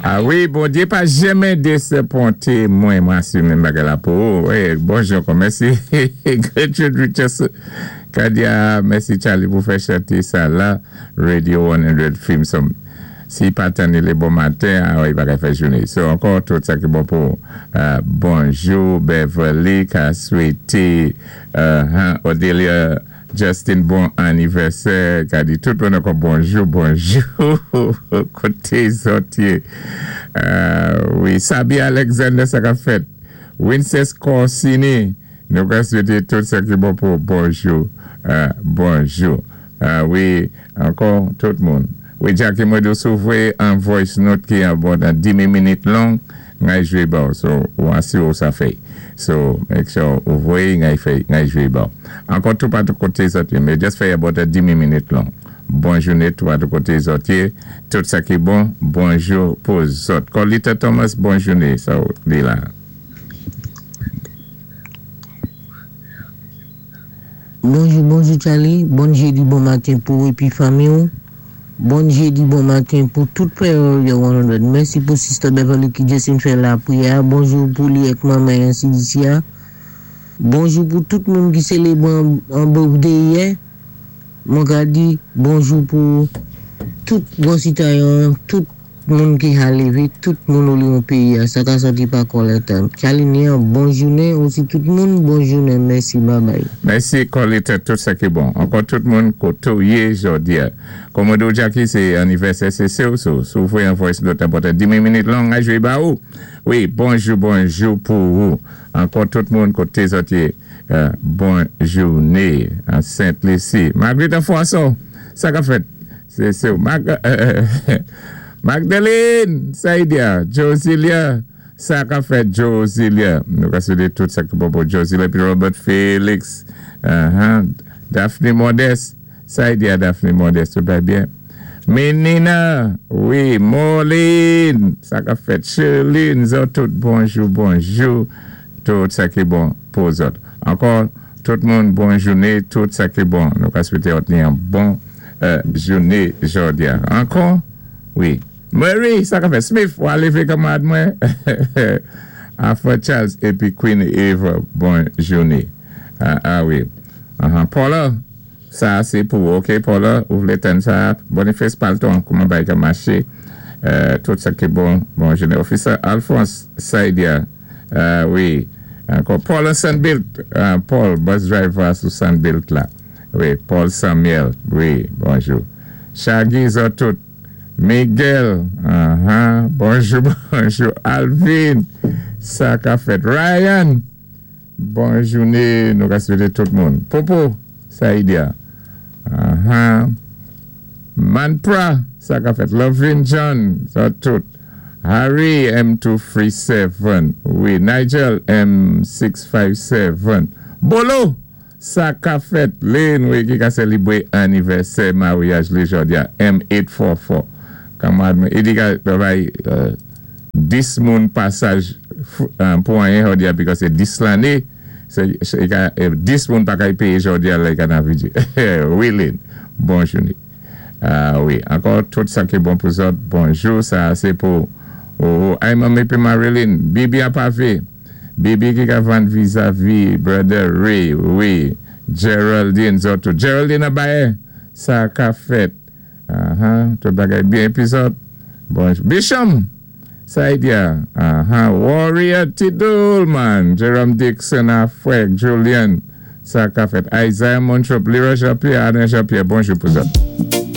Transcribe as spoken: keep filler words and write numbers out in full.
Ah wi, Bondyé pa janmen dézapwenté mwen, mwen asimé bagay la pou ou. Wi, bonjou ankò, mèsi. Gertrude Richardson, Kadia, mèsi Charlie pou fè chanté sa la, Radio san Theme Song. Si pa tann li bon maten, ah wi, pa ka fè jounen. So, ankò, tout sa ki bon pou euh, bonjou, Beverly, ka swété euh, Odelia Justin, bon anivèsè, ka di tout moun ankò bonjou, bonjou, koté zòt yé. Euh, wi, Sabi Alexander, sa ka fèt. Winces Corsini, nou ka swété tout sa ki bon pou bonjou, euh, bonjou. Euh, wi, ankò, tout moun. Wi, Jackie, mwen di si ou voyé an voice note ki an bon dan di minit long, ngay jwé ba ou. So, ou asi ou sa fè. So, make sure ou voyé, ngay fè, ngay jwé ba ou. Ankò tout patou koté zòt yé, men just fè about a di minit long. Bon jounen tout patou koté zòt yé. Tout sa ki bon, bonjou pou zòt. Colita Thomas, bon jounen, sa ou di la. Bonjou, bonjou Charlie. Bon jédi, bon maten pou ou épi fanmi ou. Bon jédi, bon maten pou tout pè Radio san. Mèsi pou Sister Beverly ki jis fè lapriyè. Bonjou pou li ak manman ansi disi. Bonjou pou tout moun ki sélébwé an birthday yè. Mwen ka di bonjou pou tout bon sitwayen, tout moun ki a lévé, tout moun ou li an péyi. Sa ka sòti pa Coletta. Charlie ni an bon jounen, osi tout moun, bon jounen. Mèsi, bye bye. Mèsi Coletta, tout sa ki bon. Ankò tout moun koté ou yé jòdi a. Komodo Jackie, sé anivèsè, sé sé ou sou. Si ou voyé an voice note about di minit long, a jwé ba ou. Wi, bonjou, bonjou pou ou. Ankò tout moun koté zòt yé. Euh, bon jounen an Sainte-Lucie. Marguerite François, sa ka fèt. Sé sé ou. Mag euh, Magdalene, Saïdia, Josilia, sa ka fèt Josilia. Nou ka swété tout sa ki bon pou Josilia, épi Robert Félix, uh-huh. Daphne Modeste, Saïdia Daphne Modeste, tout va bien. Menina, wi, Moline, sa ka fèt Sherline, zòt tout bonjou, bonjou, tout sa ki bon pou zòt. Ankò, tout moun, bon jounen, tout sa ki bon. Nou ka swété an bon euh, jounen jòdi a. Ankò, wi. Mary, sa ka fèt Smith, ou a lévé kanmarad mwen. Alpha Charles épi Queen Eva, bon jounen. Ah, ah wi. Uh-huh. Paula, sa sé pou, OK, Paula, ou vlé tann sa, Boniface Palton, kouman bagay ka maché, euh, tout sa ki bon, bon jounen. Officer Alphonse Saidia, euh, wi. Ankò, Paul Sandbilt, euh, Paul, bus driver sou Sandbilt la. Wi, Paul Samuel, wi, bonjou. Shaggy zòt tout. Miguel, uh-huh, bonjou, bonjou. Alvin, sa ka fèt. Ryan, bon jounen, nou ka swété tout moun. Popo, Saïdia, uh-huh. Manpra, sa ka fèt. Lovin John, zòt tout. Harry M two three seven, wi, Nigel M six five seven. Bolo, sa ka fèt. Lynn, wi, ki ka sélébwé anivèsè maryaj li jòdi a, M eight four four. Kanmarad, i di ka travay euh, dis moun pasaj euh, pou anyen jòdi a, because sé dis lanné, sé, sé, ka, dis moun pa kay péyé jòdi a lè ka nan viji. Wi, Lynn, bon jounen. Ah wi, ankò tout sa ki bon pou zòt, bonjou, sa sé pou oh, oh, ay manmi épi Marilyn, Bibi a pavé, Bibi ki ka vann vizavi Brother Ray, wi, Geraldine, zòt tout. Geraldine Abaye, sa ka fèt. Uh-huh, tout bagay byen épi zòt. Bonjou. Bisham, Saidia, uh-huh, Warrior Tidulman, Jerome Dixon, Afrek, Julian, sa ka fèt. Isaiah Montrop, Leroy Jean-Pierre, Alain Jean-Pierre, bonjou pou zòt.